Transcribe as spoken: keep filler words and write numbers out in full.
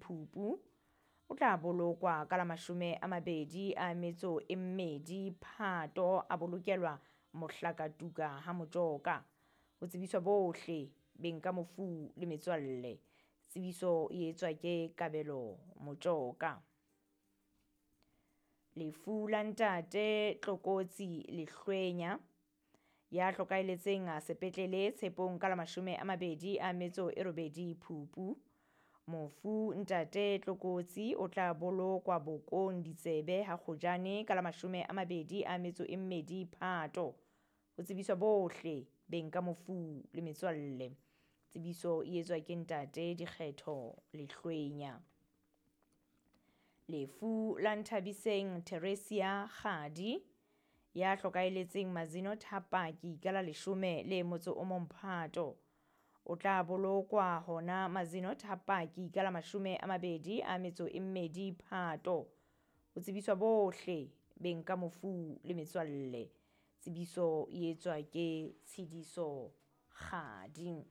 Phupu. O tla bolokwa ka la mashome a mabedi a metso e mmedi Phato, a bolokelwa Mohlakatuka ha Motjoka. Ho tsebiswa bohle beng ka mofu le metswalle. Tsebiso e etswa ke Kabelo Motjoka. Lefu la ntate Tlokotsi Lehlwenya ya hlokaeletseng sepetlele Tshepong ka la mashome a mabedi a metso e robedi Phupu. Mofu ntate Tlokotsi o tla bolokwa bokong ditsebe ha Kgojane ka la mashome a mabedi a metso e mmedi Phato. Ho tsebiswa bohle beng ka mofu le metswalle. Tsebiso e etswa ke ntate Dikgetho Lehlwenya. Lefu la Nthabiseng Theresia Kgadi ya hlokaeletseng Mazino Thapaki ka la leshome le motso o mong Phato. O tla bolokwa hona Mazino Thapaki ka la mashome a mabedi a metso e mmedi Phato. Ho tsebiswa bohle beng ka mofu le metswalle. Tsebiso e etswa ke Tshidiso Kgadi.